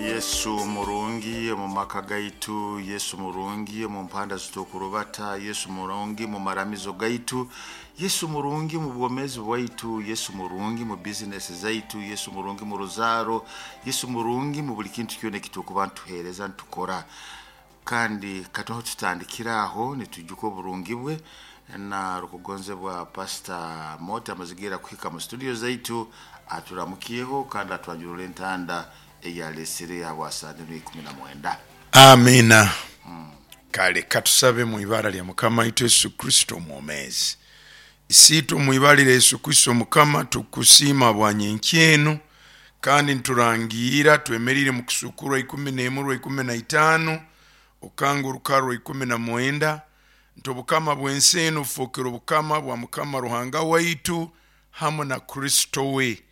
Yesu murungi omu maka gaitu, Yesu murungi omu mpanda zitukurubata, Yesu murungi mu maramizo gaitu, Yesu murungi mu bwomezi bwaitu, Yesu murungi mu bizinesi zaitu, Yesu murungi mu ruzaaro, Yesu murungi mu buli kintu kyona ekitukuba nituheereza nitukora. Kandi katoho tutandikira aho nitujuka oburungi bwe na rukugonzebwa Pastor Mota amazigira kuhika mu studio zaitu aturamukiyeho kandi atwanjurura entanda eyalesere habwa sande enu 19. Amiina. Kale katusabe mu ibara lya Mukama waitu Yesu Kristo omwomeezi. Isiitwe omu ibara lya Yesu Kristo Mukama, tukusiima habwa nyenkya enu, kandi niturangiira twemerire mu kusukurwa 11 rwa 15 okanga orukara rwa 19 nti obukama bw'ensi enu bufokere obukama bwa Mukama Ruhanga waitu hamu na Kristo we.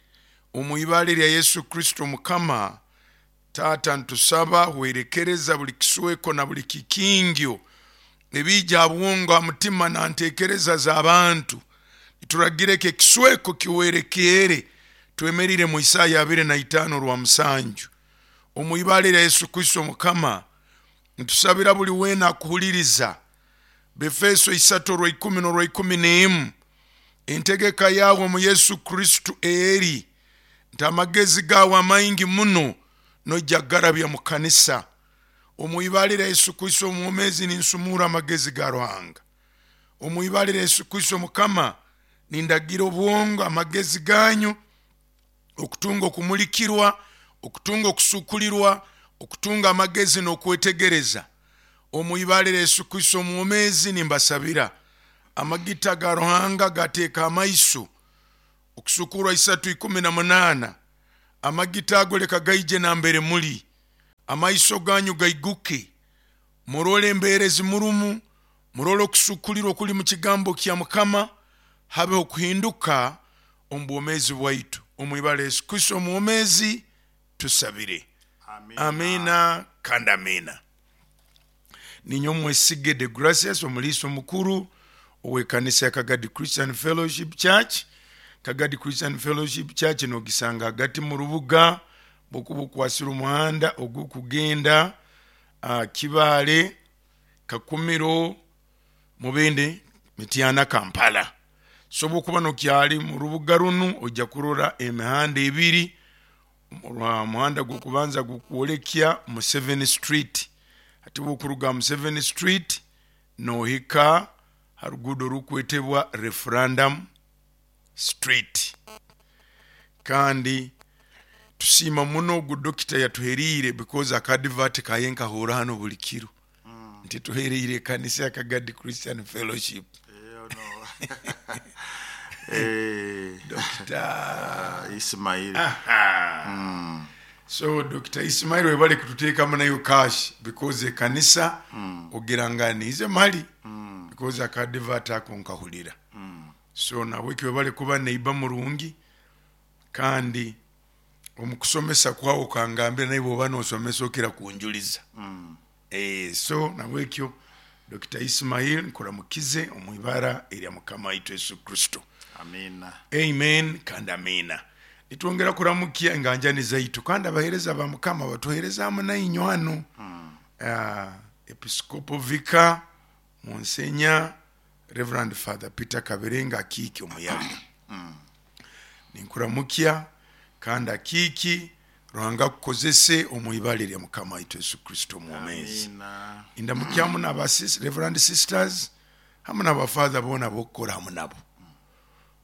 Omu ibara erya Yesu Kristo Mukama, Taata ntusaba hwerekereza buli kisweko na buli kikingyo ebiija ha bwongo, ha mutima na ntekereza z'abantu. Nituragira eki ekisweko kihwerekeere. Twemerire mu Isaya 25 orwa 7. Omu ibara erya Yesu Kristo Mukama, ntusabira buli weena akuhuliriza. Befeso isatu orwa ikumi n'orwa 11, entegeka yawe omu Yesu Kristo eri nti amagezi gawe amaingi muno noija kugarabya mu kanisa. Omu ibara erya Yesu Kristo omwomezi ninsumura amagezi ga Ruhanga. Omu ibara erya Yesu Kristo Mukama, nindagira obwongo amagezi ganyu okutunga okumulikirwa, okutunga okusukulirwa, okutunga amagezi n'okwetegereza. Omu ibara erya Yesu Kristo omwomezi nimbasabira amagita ga Ruhanga gateeka amaiso. Okusukurwa 3:18, amagita ago leka gaije nambere muli, amaiso ganyu gaiguke, murole embeera ezimurumu, murole okusukulirwa okuli mu kigambo kya Mukama, habeho okuhinduka omu bwomeezi bwaitu. Omu ibara lya Yesu Kristo omwomezi tusabire, amiina kandi amiina. Ninyowe Mwesige Degracius, omuliisa omukuru ow'ekanisa ya Kagadi Christian Fellowship Church. Kagadi Christian Fellowship Church nogisanga hagati mu rubuga, bwokuba okwasire omuhanda ogukugenda Kibaale, Kakumiro, Mubende, Mityana, Kampala. So bwokuba nokyali mu rubuga runu oija kurora emihanda ebiri. Omuhanda gw'okubanza gukwolekya Museveni Street, hati bwokuruga Museveni Street nohika ha ruguudo orukwetebwa Referendum Street. Kandi tusiima muno ogu dokita yatuheriire because aka advert kaye nkahuura hanu buli kiro nti tuhereire ekanisa ya Kagadi Christian Fellowship. Dokita Ismail. Aha. So Dokita Ismail webale kututeekamu nayo cash because ekanisa ogira nga niize mali because aka advert ako nkahurira. So nabweki webale kuba neighbor murungi kandi omu kusomesa kwawe okangambira naye bwoba nosomesa okira kunjuliza. So nabwekyo Dokita Ismail nkuramukize omu ibara erya Mukama waitu Yesu Kristo. Amiina. Amen kandi amiina. Nitwongera kuramukya enganjani zaitu kandi abahereza ba Mukama batuherezamu nainywe hanu. Episcopal Vicar Monsignor Reverend Father Peter Kabirenga Akiiki Omuyaga. Ninkuramukya kandi Akiiki, Ruhanga akukozese omu ibara erya Mukama waitu Yesu Kristo omwomeezi. Amiina. Indamukya hamu n'aba Reverend Sisters hamu n'aba Father boona ab'okukora hamu nabo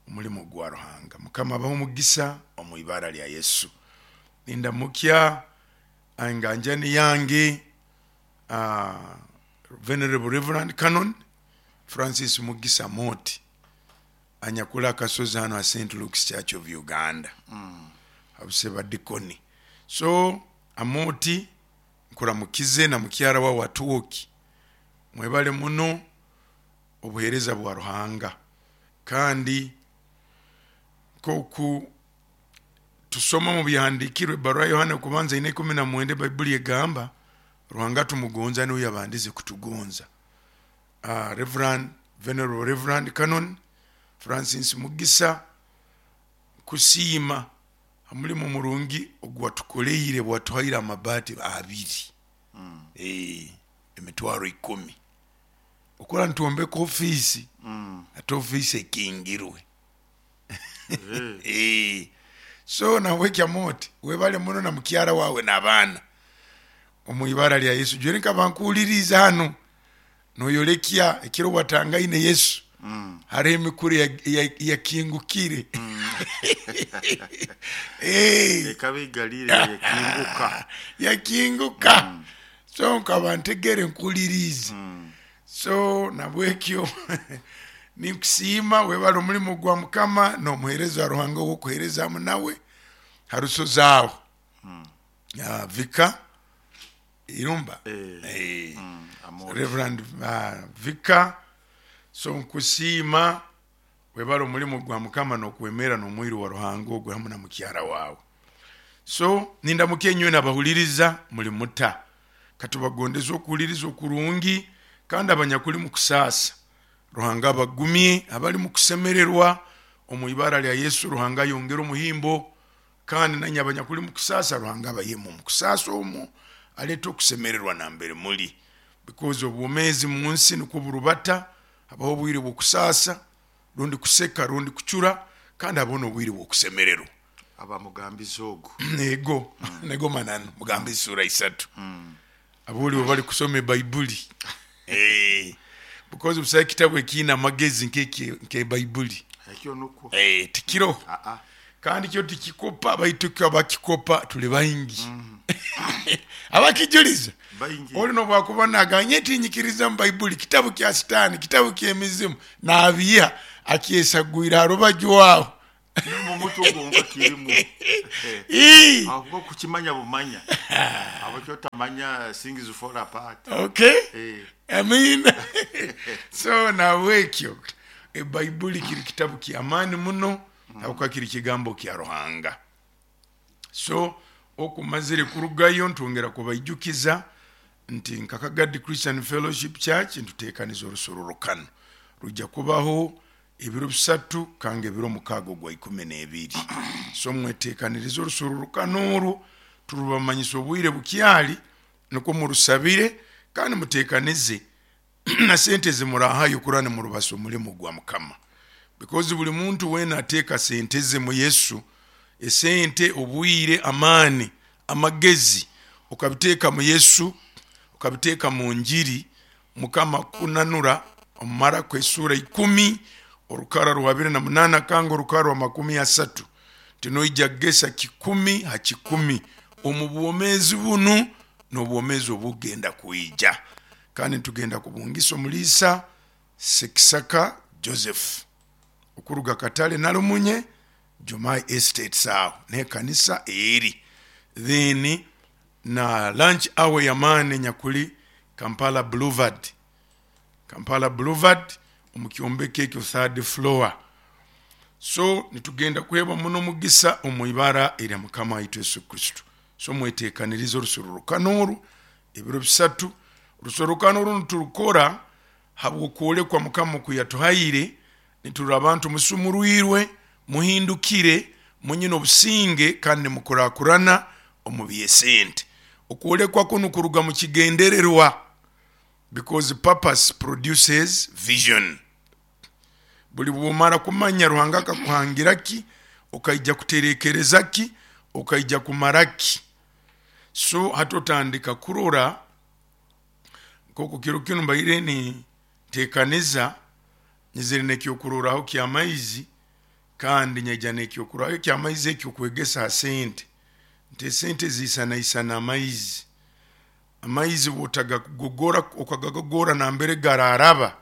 omulimo gwa Ruhanga. Mukama abahe omugisa omu ibara lya Yesu. Nindamukya enganjani yange Venerable Reverend Canon Francis Mugisa Moti anyakuli akasozi hanu ha St. Luke's Church of Uganda habusebadikoni. So Amoti nkuramukize na mukyara wawe Atwoki, mwebale muno obuhereza bwa Ruhanga. Kandi nkoku tusoma omu byahandikirwe ebaruha ya Yohana okubanza ina 19, Baibuli egamba Ruhanga tumugonza niwe yabandize kutugonza. Reverend, Venerable Reverend Canon Francis Mugisa, nkusiima. Hamulimo murungi oguwatukoleire bwatuhaire amabaati abiri, emitwaro 10 okora nitwombeka ofiisi, ate ofiisi ekingirwe. So nabweki Amooti webale muno na mukyara wawe n'abaana omu ibara lya Yesu. Jweri nkaba nkuhuliriize hanu noyorekya ekiro watangaine Yesu, hariho emikura yakingukire. Ekaba eigalire yakinguka. Yakinguka. So nkaba ntegere nkuhuliriize. So nabwekyo ninkusiima, webale omulimu gwa Mukama n'omuheereza wa Ruhanga ow'okuheereza hamu nawe ha rusozi aho. Vika Irumba. Amooti. Reverend Vika, so nkusiima, webale omulimu gwa Mukama n'okwemera n'omwiru wa Ruhanga ogwe hamu na mukyara wawe. So nindamuka enywe n'abahuliriza muli muta. Katubagondeze okuhuliriza okurungi, kandi abanyakuli mu kusaasa Ruhanga abagumye, abali mu kusemererwa omu ibara lya Yesu Ruhanga ayongere omuhimbo, kandi nanye abanyakuli mu kusaasa Ruhanga abayemu omu kusaasa omwo, alete okusemererwa nambere muli, because obwomezi mu nsi nukwo burubata, habaho obwire bw'okusaasa rundi kuseka rundi kucura, kandi habaho n'obwire bw'okusemererwa. Aba mugambizi ogu. Nego, nego mananu mugambe esura 3. Aboli bwe bali kusoma ebaibuli. Because busaho ekitabu ekiine amagezi nke baibuli. Ekyo nukwo. Tikiroho. Kandi kyo tikikopa, baitu kyo abakikopa tuli baingi. Abakijuliza. Baingi. Oli nobwakuba naganye tinyikiriza mu baibuli, kitabu kya sitaani, kitabu ky'emizimu, nabiiha akyesagwire ha rubaju aho. Mu mutwe gwonka kirimu. Ahubwo kukimanya bumanya. Habwaki otamanya things fall apart. Okay. Amina. So nabwekyo ebaibuli kiri kitabu ky'amaani muno, habwokuba kiri kigambo kya Ruhanga. So okumazire kurugayo ntwongera kubaijukiza nti nka Kagadi Christian Fellowship Church nituteekaniza orusororokano rujja kubaho ebiro 3 kanga ebiro 6 ogwa 12. So mweteekanirize orusororokano orwo, turubamanyisa obwire bukyali, nukwo murusabire kandi muteekanize na sente ezimurahayo kurora nimurubasa omulimu gwa Mukama, because buli muntu weena ateeka sente ze mu Yesu, esente, obwire, amaani, amagezi, okabiteeka mu Yesu, okabiteeka mu njiri, Mukama kukunanura omu Marako esura 10 orukara rwa 28 kanga orukara rwa 30, nti noija kugesa 100 ha 100 omu bwomeezi bunu n'obwomeezi obugenda kwija. Kandi nitugenda kubungisa omuliisa Sekisaka Joseph okuruga Katale Nalumunye Jomai Estates aho n'ekanisa eri. Then na lunch hour ey'amaani enyakuli Kampala Boulevard, Kampala Boulevard omu kyombeko ekyo third floor. So nitugenda kuheebwa muno omugisa omu ibara erya Mukama waitu Yesu Kristo. So mweteekanirize orusorrokano oru ebiro 3. Orusorrokano oru niturukora habw'okwolekwa Mukama oku yatuhaire, niturora abantu musumurwirwe, muhindukire, munyine obusinge kandi nimukurakurana omu by'esente. Okwolekwa kunu kuruga mu kigendererwa, because purpose produces vision. Buli bwomara kumanya Ruhanga akakuhangira ki, okaija kuterekereza ki, okaija kumara ki. So hati otandika kurora nk'oku kiro kinu mbaire ninteekaniza, nyizire n'ekyokurorraho ky'amaizi kandi nyaija n'ekyokurorraho eky'amaizi eky'okwegesa ha sente, nti esente ziisanaisana amaizi. Amaizi obu otagagogora okagagogora nambere garaaraba,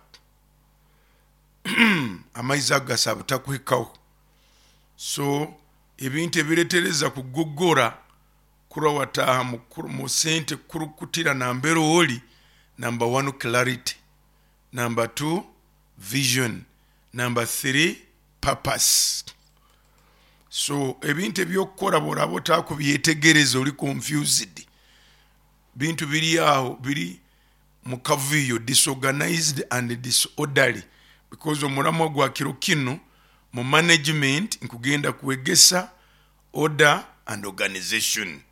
amaizi ago gasobora butakuhikaho. So ebintu ebiretereza kugogora kurora wataaha mu sente kukurukutira nambere ori, number one clarity, number two vision, number three purpose. So ebintu eby'okukora obu oraaba otakubyetegereza ori confused, bintu biri aho biri mu kavuyo, disorganized and disorderly, because omuramwa gwa kiro kinu mu management nkugenda kwegesa. Order and organization.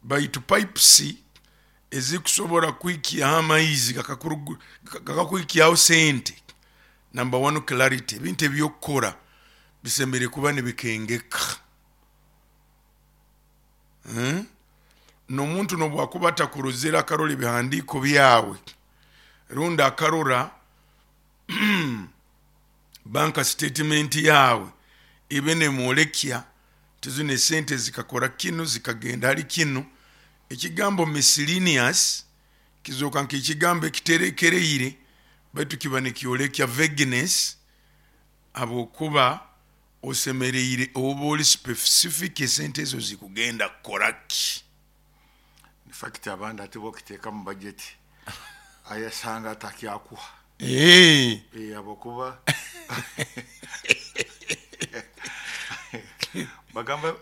Baitu pipes ezikusobora kuhikyaho amaizi gakakuhikyaho sente, number one clarity, ebintu ebyokukora bisemeriire kuba nibikengeka. N'omuntu nobwakuba atakurozere akarora ebihandiiko byawe rundi akarora bank statement yawe, ebe nemwolekya nti zinu esente zikakora kinu, zikagenda hali kinu. Ekigambo miscellaneous kizooka nk'ekigambo ekiterekereire, baitu kiba nikyolekya vagueness, habwokuba osemeriire oba oli specific esente ezo zikugenda kukora ki. In fact abandi hati bokiteeka mu budget ayasanga atakyakuha. Habwokuba bagamba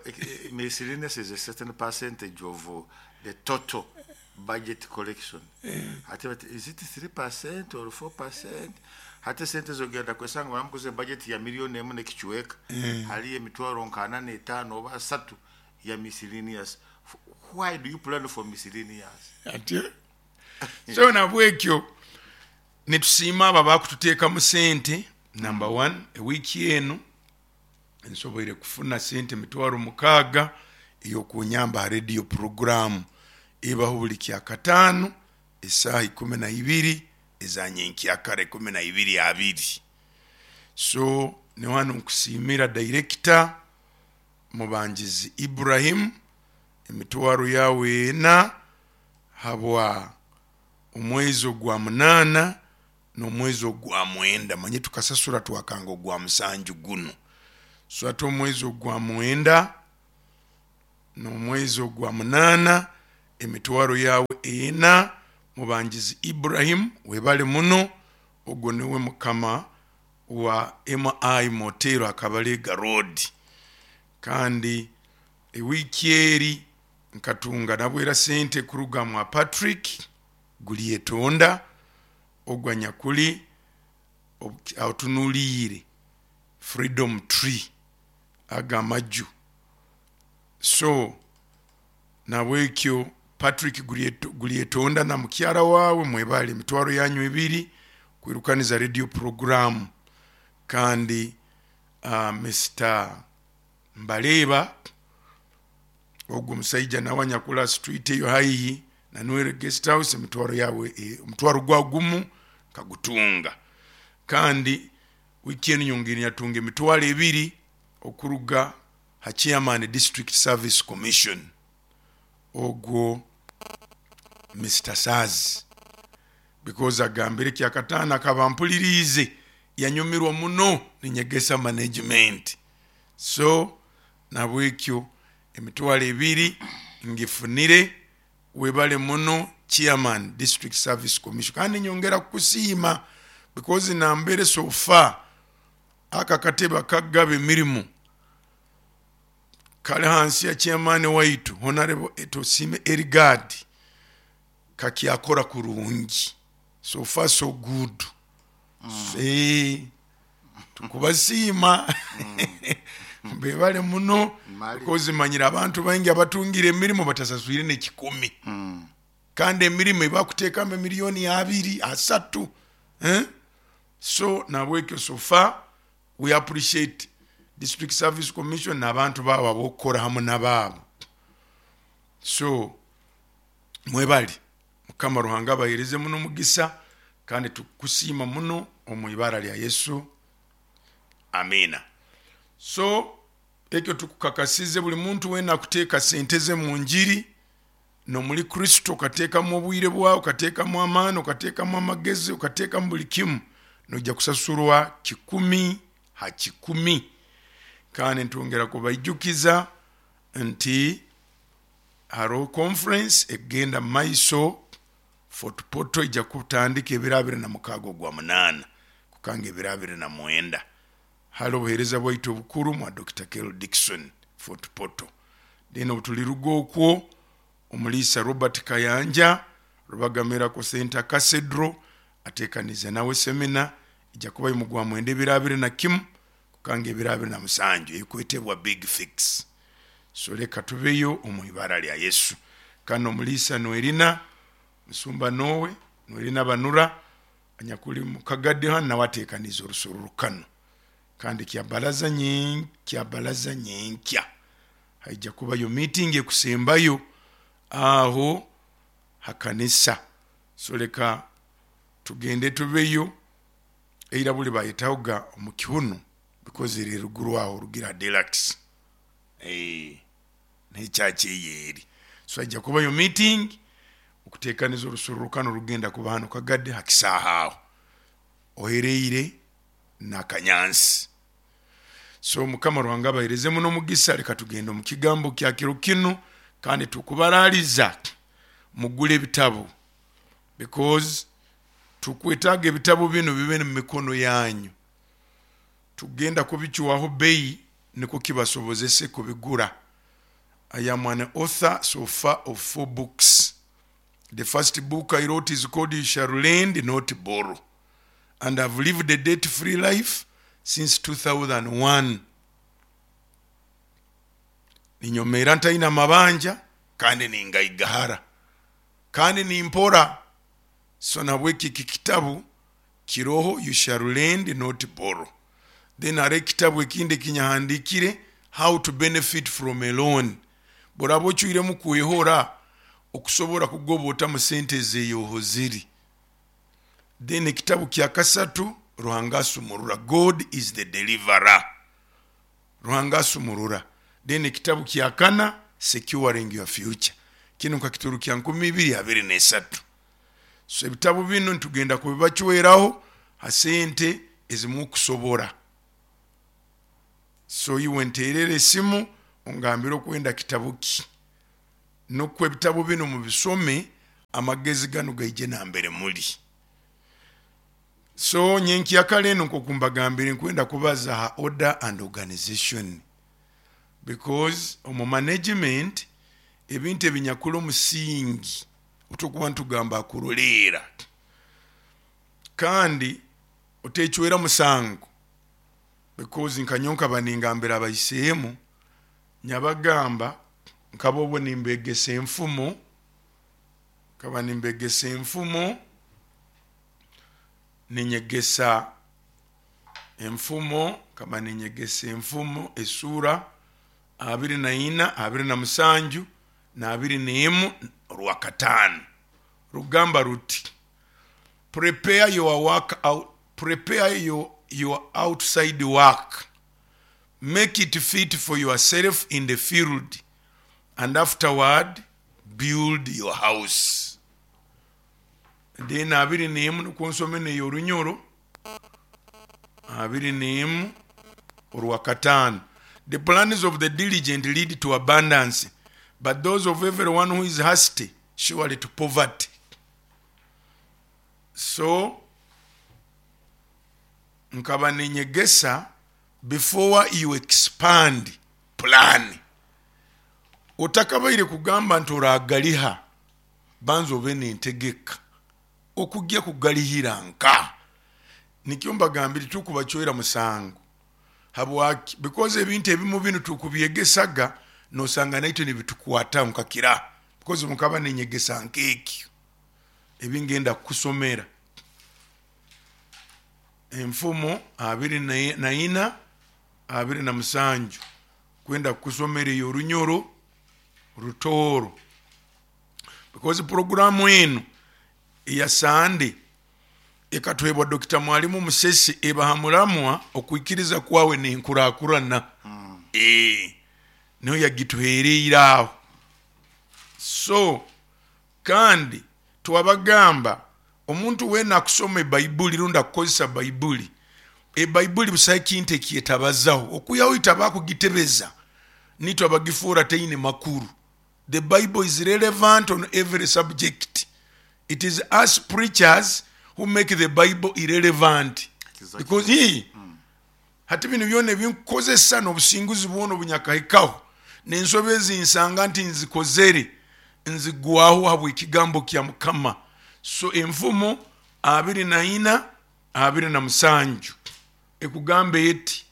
miscellaneous is a certain percentage of the total budget collection. Hati bati is it 3% or 4%? Hati esente zogenda kwesanga baramukoze budget ya miliyoni emu n'ekicweka, haliyo emitwaro nka ana n'etaano oba asatu ya miscellaneous. Why do you plan for miscellaneous? Ati so nabwekyo nitusiima abo abakututeekamu sente. Number one, ewiiki enu nsoboire kufuna sente 60,000 ey'okunyamba ha radio program ebaho buli kyakataano esaaha ikumi na ibiri eza nyenkyakara, ikumi na ibiri abiri. So niho hanu nkusiimira director Mubangizi Ibrahim emitwaro yawe ena habwa omwezi ogwa 8 n'omwezi ogwa 9. Manye tukasasura twakanga ogwa 7 gunu, so hati omwezi ogwa 9 n'omwezi ogwa 8 emitwaro yawe ena. Mubangizi Ibrahim webale muno, ogwo niwe mukama wa MI Motel Akabalega Road. Kandi ewiiki eri nkatunga nabwera sente kuruga mwa Patrick Gulyetonda, ogwo anyakuli atunuliire Freedom Tree aga amaju. So nabwekyo Patrick Gulyetonda na mukyara wawe mwebale emitwaro yanyu ebiri kwirukaniza radio program. Kandi Mr Mbaleba, ogwo omusaija nawe anyakula street eyo haihi na Nwere Guest House, emitwaro yawe, omutwaro gwa gumu kagutunga. Kandi wiiki enu nyongere nyatunga emitwaro ebiri okuruga ha chairman District Service Commission, ogwo Mr Saz, because agambire kyakataano akaba mpuliriize yanyumirwa muno ninyegesa management. So nabwekyo emitwaro ebiri ngifunire, webale muno chairman District Service Commission. Kandi nyongera kukusiima because nambere so far aka katebe akagaba emirimu kali hansi ya chairman waitu Honorable Etosime Erigard, kakyakora kurungi, so far so good. Tukubasiima bebale muno, because manyire abantu baingi abatungire emirimu batasaswire n'ekikumi. Kandi emirimu ebakuteekamu emiliyoni abiri asatu, So nabwekyo so far we appreciate District Service Commission n'abantu baabo ab'okukora hamu n'abaabo. So mwebale, Mukama Ruhanga abahereze muno omugisa, kandi tukusiima muno omu ibara lya Yesu, amina. So ekyo tukukakasize buli muntu wena akuteeka sente ze mu njiri n'omuli Kristo, okateekamu obwire bwawe, okateekamu amaani, okateekamu amagezi, okateekamu buli kimu, noija kusasurwa 100 ha 100. Kandi ntwongera kubaijukiza nti haroho conference ekugenda mu maiso Fort Portal, ija kutandika ebiro 26 ogwa 8 kukanga ebiro 29. Hali obuheereza bwaitu obukuru mwa Dr. Kel Dixon Fort Portal. Then obutuliruga okwo, omuliisa Robert Kayanja Rubaga Miracle Center Cathedral atekanize nawe semina, ija kuba mugwa 9 ebiro 21 kukanga ebiro 27, ekwetebwa Big Fix. So leka tubeyo omu ibara lya Yesu. Kandi omuliisa Noelina, musumba Nowe Noelina Banura anyakuli mukagadi hanu, nawe atekaniize orusorrokano. Kandi kyabalaza nyenkya haija kubayo meeting ekusembayo aho hakanisa. So leka tugende tubeyo. Eira buli bayetahoga omu kihunu because eri eruguru aho orugira Deluxe, nekyaki eyo eri. So haija kubayo meeting okutekaniza orusorrokano rugenda kuba hanu Kagadi ha kisaaha aho ohereire n'akanyansi. So Mukama Ruhanga abahereze muno omugisa. Leka tugende omu kigambo kya kiro kinu, kandi tukubaraliza mugule ebitabo, because tukwetaaga ebitabo binu bibe mu mikono yanyu. Tugenda kubicwaho bei nikwo kibasobozese kubigura. I am an author so far of 4 books. The first book I wrote is called You Shall Lend, Not Borrow. And I've lived a debt-free life since 2001. Ninyomeera ntaine amabanja, kandi ningaigahara, kandi nimpora. So nabweki eki kitabu kiroho, You Shall Lend, Not Borrow. Then hariho ekitabu ekindi ekinyahandikire, How to Benefit from a Loan. Bworaba ocwiremu kwehora, okusobora kugoba otamu sente ezeyoho ziri. Then ekitabu kya kasatu, Ruhanga Asumurura, God is the Deliverer. Ruhanga Asumurura. Then ekitabu kya kana, Securing Your Future. Kinu nkakiturukya 2023. So ebitabu binu nitugenda kubibacweraho ha sente ezimukusobora. So iwe nterera esimu ongambire okwenda kitabu ki, nukwo ebitabu binu mubisome, amagezi ganu gaije nambere muli. So nyenkyakara enu nkoku mbagambire, nkwenda kubaza ha order and organization, because omu management ebintu ebinyakuli omusingi otukuba nitugamba akuroleera, kandi otecwera musango, because nkanyowe nkaba ningambira abaisemu, nyabagamba nkaba obwo nimbegesa enfumo, nkaba nimbegesa enfumo, ninyegesa enfumo, nkaba ninyegesa enfumo esura 24, 27 na 21 orwakataano. Rugamba ruti, prepare your work out, prepare your outside work, make it fit for yourself in the field, and afterward build your house. Then 21 nukwo nsome neyo orunyoro, 21 orwakataano. The plans of the diligent lead to abundance, but those of everyone who is hasty surely to poverty. So nkaba ninyegesa, before you expand, plan. Otakabaire kugamba nti oragaliha, banza obe nentegeka okujja kugalihira nka. Nikyo mbagambire, tukubacwera musango. Habwaki? Because ebintu ebimu binu tukubyegesaga, nosanga naitwe nibitukwataho nkakira, because mukaba ninyegesa nk'ekyo ebingenda kukusomera. Enfumo 24, 27, kwenda kukusomera eyo orunyoro rutooro, because programu enu eya Sande ekatuhebwa Dr. Mwalimu Musesi, ebaha muramwa okwikiriza kwawe nenkurakurana. Niho yagituhereire aho. So kandi twabagamba omuntu wena akusoma ebaibuli rundi akukozesa baibuli, ebaibuli busaho ekintu ekyetabazaho, okwihaho itwe abakugitebeza nitwe abagifuura teine makuru. The Bible is relevant on every subject. It is us preachers who make the Bible irrelevant. Because hati binu byona ebinkukozesa n'obusinguzi bwona obunyakahikaho n'ensobi ezinsanga nti nzikozere, nzigwaho habw'ekigambo kya Mukama. So enfumo 24, 27 ekugamba eti,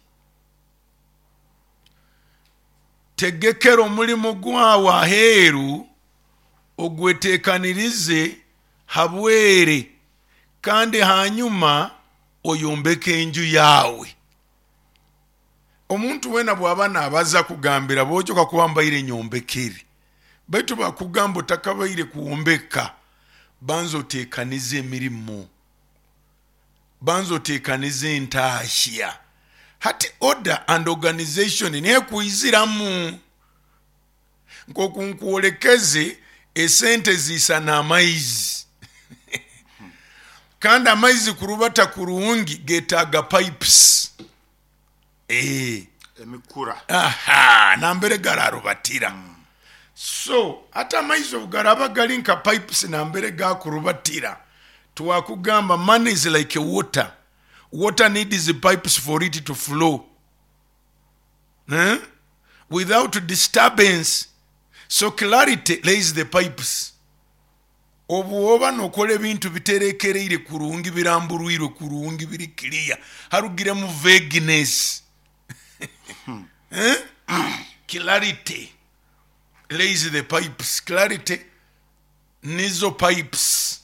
Tegekera omulimu gwawe aheeru, ogweteekanirize habwere, kandi hanyuma oyombeke enju yawe. Omuntu weena bw'aba naabaza kugambira boojo kakuba mbaire nyombekere, baitu bakugamba otakabaire kwombeka, banza oteekanize emirimo, banza oteekanize entahya. Hati order and organization nekwiziramu. Nk'oku nkwolekeze esente ziisana amaizi kandi amaizi kurubata kurungi getaaga pipes. Emikura. Aha, nambere gararubatira. So hati amaizi obu garaba gali nka pipes nambere gakurubatira, twakugamba money is like water. Water needs pipes for it to flow. Eh? Without disturbance. So clarity lays the pipes. Obu oba nokora ebintu biterekereire kurungi, biramburwirwe kurungi, biri clear, harugiremu vagueness. Eh? Clarity lays the pipes. Clarity nizo pipes.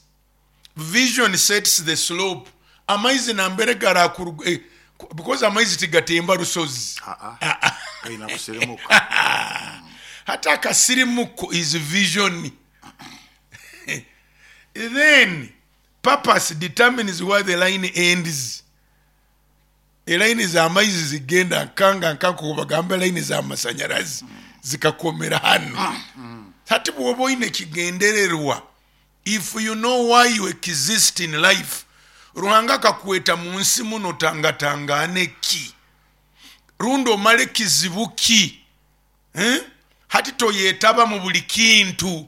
Vision sets the slope. Amaizi nambere garakuruga, because amaizi tigatemba rusozi. Gaina kusirimuka. Hati akasirimuko is vision. Then purpose determines where the line ends. Elaini z'amaizi zigenda nkanga nkanko bagamba elaini z'amasanyarazi zikakomera hano. Hati bw'oba oine ekigendererwa, if you know why you exist in life, Ruhanga akakweta mu nsi muno tangatangane ki, rundi omale kizibu ki, eh? Hati toyetaba mu buli kintu,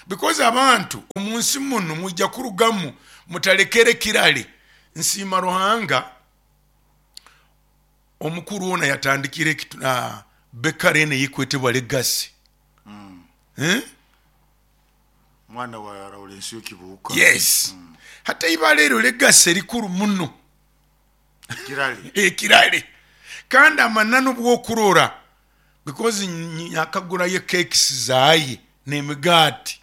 because abantu omu nsi muno mwija kurugamu mutalekere kirale. Nsiima Ruhanga omukuru ona yatandikire bekare ene yikwetebwa Legacy. Eh? Mwana wa Lawrence Kibuuka. Yes. Hati ibara eryo Legacy rikuru muno. Kirale. Ekirale. Kandi amananu bw'okurora, because nyakagurayo cakes zaye n'emigaati,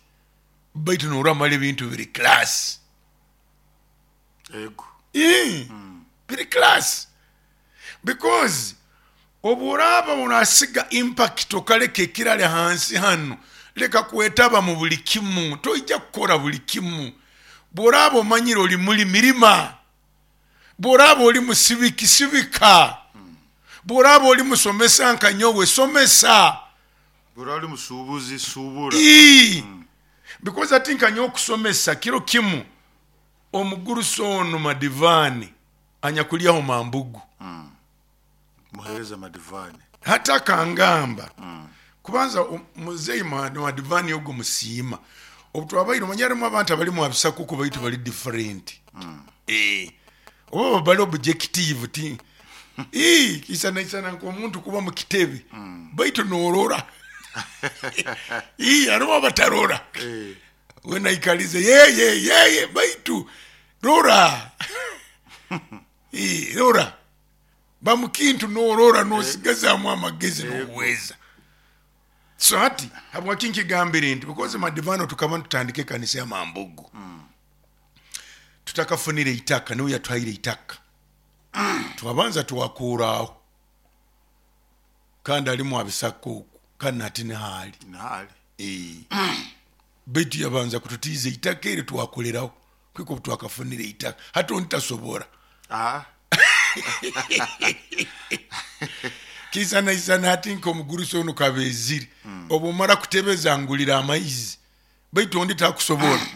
baitu noramara ebintu biri class. Ego. Biri class. Because obu oraaba orasiga impact okaleka ekirale hansi hano, leka kwetaba mu buli kimu, toija kukora buli kimu. Bw'oraaba omanyire oli muli mirima, bw'oraaba oli musibiki sibika, bw'oraaba oli musomesa nka nyowe somesa, Bw'oraaba oli musuubuzi suubura. Because ati nka nyowe okusomesa kiro kimu omugurusi ono Madivani anyakulyaho mambugu. Muhereza Madivani. Hati akangamba kubanza muzeyi Madivani ogo musiima. Obu twabaire omanya harimu abantu abali mu abisakuku baitu bali different. Oba bali objective ti. Isana isana nk'omuntu kuba mu kitebe. Baitu norora. Harimu abatarora. Wenaikalize ye ye ye ye baitu rora. Rora. Bamukintu norora nosigazamu amagezi n'obuweza. So hati habwaki nkigambire nti because Madivano tukaba tutandika ekanisa ya Mambugu. Tutakafunire itaka, niwe yatwaire itaka. Twabanza twakuraho. Kandi alimu abisakuku, kandi nati nihali. Nihali. Baitu yabanza kututiiza itaka eri twakoleraho. Kwiko twakafunire itaka. Hati ontasobora. Kisana isana hati nk'omugurusi ono kabezire. Obu omara kutebeza ngulira amaizi. Baitu ondi takusobora.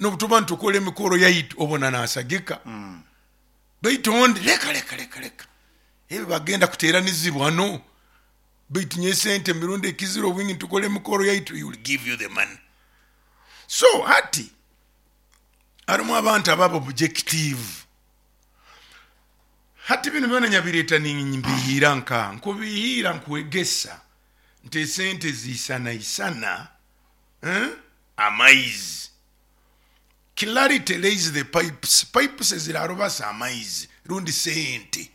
N'obutuba ntukora emikoro yaitu obona nasagika. Baitu ondi leka leka leka leka. Ebi bagenda kuteranizibwa no. Baitu nye sente mirundi ekizira obwingi ntukora emikoro yaitu, he will give you the money. So hati harimu abantu ababa objective. Hati bino byona nyabireta nimbihira nka nkubihira nkwegesa nti esente zisana isana, amaizi. Clarity lays the pipes. Pipes zirarobasa amaizi rundi sente.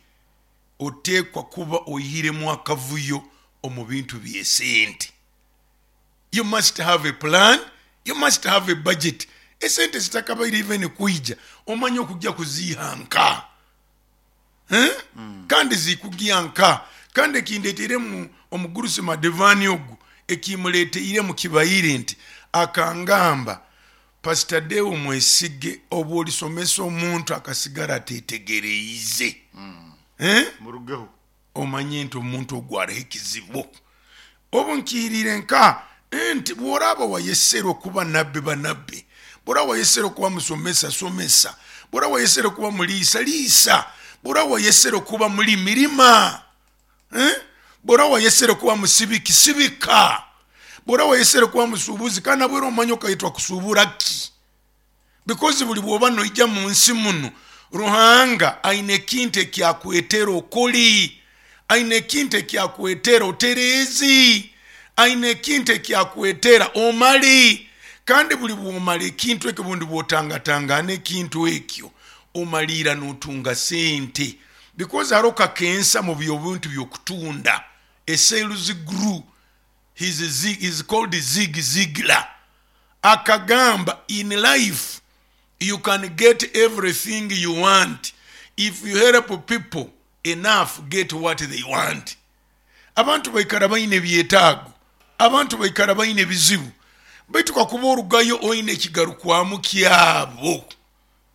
Oteekwa kuba oihiremu akavuyo omu bintu by'esente. You must have a plan, you must have a budget. Esente zitakabaire even kwija, omanye okujja kuziiha nka. Eh? Kandi zikugya nka. Kandi ekindeeteiremu omugurusi Madevani ogu, ekimuleeteiremu kibaire nti akangamba, Pastor Deo Mwesige, obu olisomesa omuntu akasigara atetegereize, Eh? Murugeho. Omanye nti omuntu ogu aroho ekizibu. Obu nkiiriire nka nti bw'oraaba wayeserwe kuba nabbi, ba nabbi, bw'oraaba wayeserwe kuba musomesa, somesa, bw'oraaba wayeserwe kuba muliisa, liisa, bw'oraaba wayeserwe kuba mulimi, lima, Eh? Bw'oraaba wayeserwe kuba musibiki, sibika, bw'oraaba wayeserwe kuba musuubuzi, kandi nabwo omanye okayetwa kusuubura ki, because buli bw'oba noija mu nsi muno, Ruhanga aine ekintu ekyakwetera okoli, aine ekintu ekyakwetera otereezi, aine ekintu ekyakwetera omali. Kandi buli bwomala ekintu ekyo, bundi bwotangatangana ekintu ekyo, omaliira notunga sente, because haroho kakensa mu byobintu byokutunda. A sales guru, he's called Zig Ziglar, akagamba, "In life you can get everything you want if you help people enough get what they want." Abantu baikara baine ebyetaago, abantu baikara baine ebizibu, baitu kakuba orugayo oine ekigarukwamu kyabo,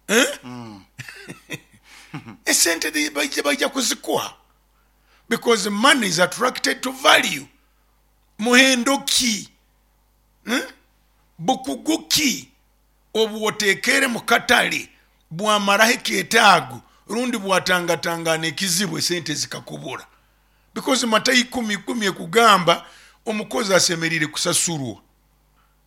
eh? Esente baija kuzikuha, because money is attracted to value. Muhendo ki, Bukugu ki obu oteekere mu katale bwamaraho ekyetaago rundi bwatangatangana ekizibu, esente zikakubura? Because Matayo 10:10 ekugamba omukozi asemeriire kusasurwa.